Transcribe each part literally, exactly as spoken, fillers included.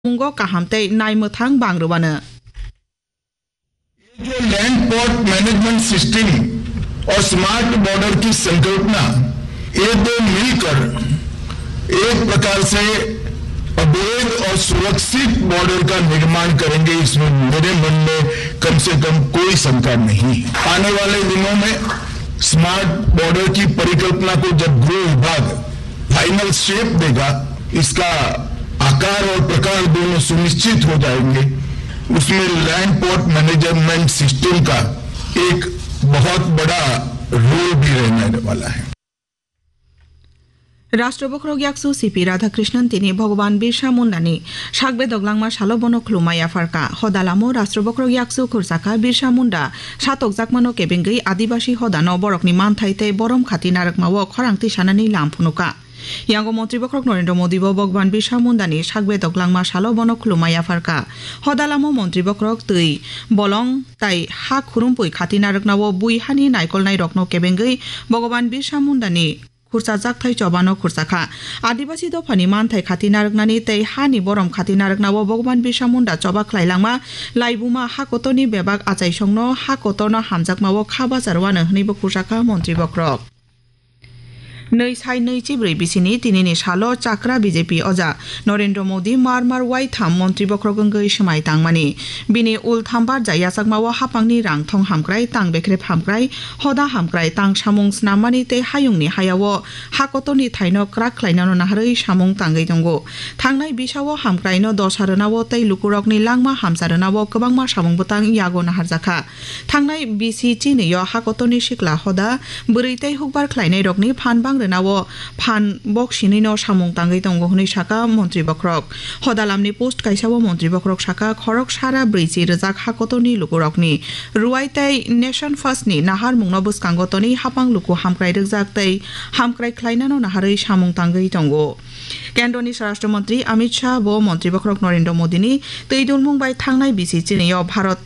mungo kaham tei naimwthang bang rwano. ये जो land port management system और smart border की संकल्पना, ये दो मिलकर एक प्रकार से अवैध और सुरक्षित बॉर्डर का निर्माण करेंगे, इसमें मेरे मन में कम से कम कोई शंका नहीं। आने वाले दिनों में स्मार्ट बॉर्डर की परिकल्पना को जब गृह विभाग फाइनल शेप देगा, इसका आकार और प्रकार दोनों सुनिश्चित हो जाएंगे, उसमें लैंड पोर्ट मैनेजमेंट सिस्टम का एक बहुत बड़ा रोल भी रहने वाला है। Rashtra Bokhorok Yaksu C P Radhakrishnan tini Bhogoban Birsa Mundani sakbe doglangma salo bono khulumma yapharkha. Hodalamo Rashtra Bokhorok Yaksu khursakha Birsa Munda satokjakmano kebengwi Adibasi hodano borokni manthai tei borom khati narwkmao khorang tisanani lam phunukha. Yango Montri Bokhorok Narendra Modi bo Bhogoban Birsa Mundani sakbe doglangma salo bono khulumma yapharkha. Hodalamo Montri Bokhorok twi bolong tai ha khurumpui khati narwknao bui hani naikolnairokno kebengwi Bhogoban Birsa Mundani khursa jakthai chobano khursakha. Adibasi dophani manthai khati narwknani tei hani borom khati narwknao Bhogoban Birsa Munda choba khlailangma laibuma ha kotorni bebak achaisongno ha kotorno hamjakmao kha bachar wano hwnwibo khursakha Montri Bokhorok. Nwi sai nwi chibrwi bisini tinini salo chakra B J P oja Narendra Modi mar mar waitham Montri Bokhorok wngwi swmai tangmani. Bini ul thambar ja yachakmao hapangni rang thong hamkrai, tang bekrep hamkrai, hoda hamkrai, tang samung snammani tei hayungni hayao ha kotorni thaino kwrak khlainano naharwi samung tangwi tongo. Thangnai bisao hamkraino dosa rwnao tei lukurokni langma hamsa rwnao kwbangma samung bwtang yago naharjakha. Thangnai bisi chinwi-o ha kotorni sikla hoda, bwrwi tei hukbar khlainairokni phan bang rwnao phan bok sinwino samung tangwi tongo hwnwi sakha Montri Bokhorok. Hodalamni post kaisao Montri Bokhorok sakha, khorok sara brwichi rwjak ha kotorni lukurokni rwai tei Nation First ni naharmungno bwskango tonwi hapang luku hamkrai rwjak tei hamkrai khlainano naharwi samung tangwi tongo. Kendroni Swarashtra Montri Amit Shah bo Montri Bokhorok Narendra Modini twi dulmung bai thangnai bisi chinwi-o Bharat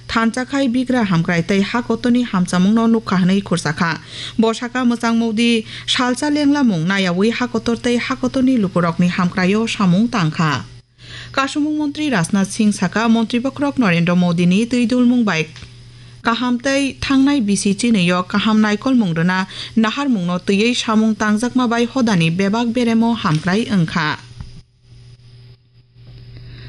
thansa khai bigra hamkrai tei ha kotorni hamchamungno nukha hwnwi khursakha. Bo sakha, mwchang Modi salsa lenglamung nayaui ha kotor tei ha kotorni lukurokni hamkraio samung tangkha. Kasumung Montri Rajnath Singh sakha, Montri Bokhorok Narendra Modini twi dulmung bai kaham tei thangnai bisi chinwi-o kaham naikolmung rwna naharmungno twiwi samung tangjakma bai hodani bebak beremo hamkrai wngkha.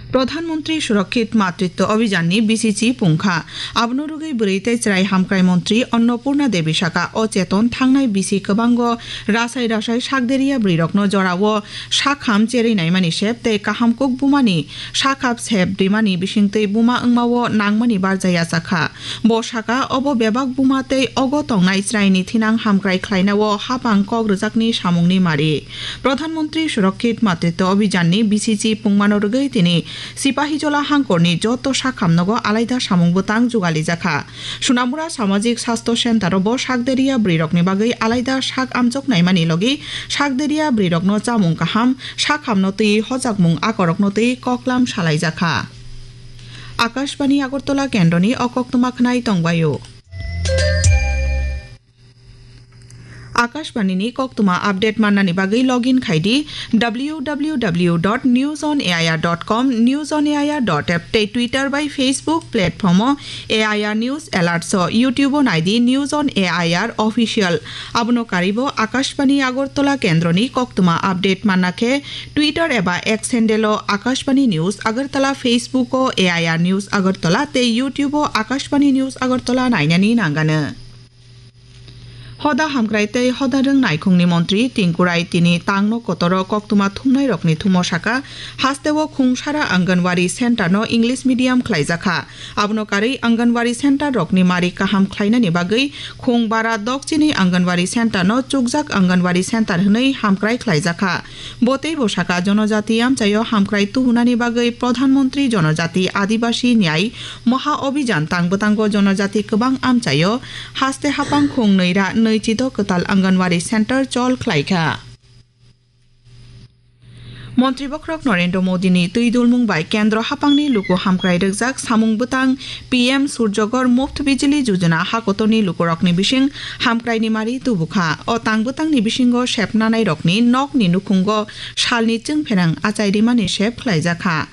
Pradhan Mantri Surakshit Matritwa Abhiyan ni bisi chi pungkha. Abono rwgwi bwrwi tei chwrai hamkrai montri Annapurna Devi sakha, o cheton thangnai bisi kwbango rasai rasai sakderia bwrwirokno jorao sakham cherwi naimani sep tei kaham kuk bumani sakhap sep rimani bisingtwi buma wngmao nangmani barja yachakha. Bo sakha, obo bebak buma tei ogo tongnai chwraini thinang hamkrai khlainao hapang kok rwjakni samungni mari. Pradhan Mantri Surakshit Matritwa Abhiyan ni bisi chi pungmano rwgwi tini Sipahijola hangkorni joto sakhamnogo alaida samung bwtang jugalijakha. Sunamura Samajik Sastho Center o bo sakderia bwrwirokni bagwi alaida sak amjok naimani logi sakderia bwrwirokno chamung kaham, sakhamno twi hojakmung akorokno twi koklam salaijakha. Akashbani Agartala kendroni o koktwma khwnai tongbaio. Akashbani ni koktwma update mannani bagwi login khai di W W W dot news on A I R dot com, news on A I R dot app tei Twitter bai Facebook platform o A I R News Alerts o, YouTube o nai di News on A I R Official. Abono karwi bo Akashbani Agartala kendroni koktwma update manna khe Twitter eba X handle o Akashbani News Agartala, Facebook o A I R News Agartala tei YouTube o Akashbani News Agartala nainani nangano. Hoda hamkrai tei hoda rwng naikhungni montri Tingkurai tini tangno kotoro koktwma thumnairokni thumo sakha, hasteo khungsara Anganwadi center no English medium khlaijakha. Abono karwi Anganwadi center rokni mari kaham khlainani bagwi khung bara dokchini Anganwadi center no chukjak Anganwadi center hwnwi hamkrai khlaijakha. Bo teibo sakha, jonojati amchaio hamkrai tubunani bagwi Pradhan Mantri Jonojati Adibasi Nyai Maha Abhiyan tang bwtango jonojati kwbang amchaio haste hapang khung nwi ra nwi chido kwtal Anganwadi center chol khlaikha. Montri Bokhorok Narendra Modini twi dulmung bai kendro hapangni luku hamkrai rwkjak samung bwtang P M Surjagor Muft Bijli Yojana hakotorni lukurokni bising hamkraini mari tubukha. O tang bwtangni bisingo sepnanairokni nokni nukhungo salni chwngpherang achai rimani sep khlaijakha.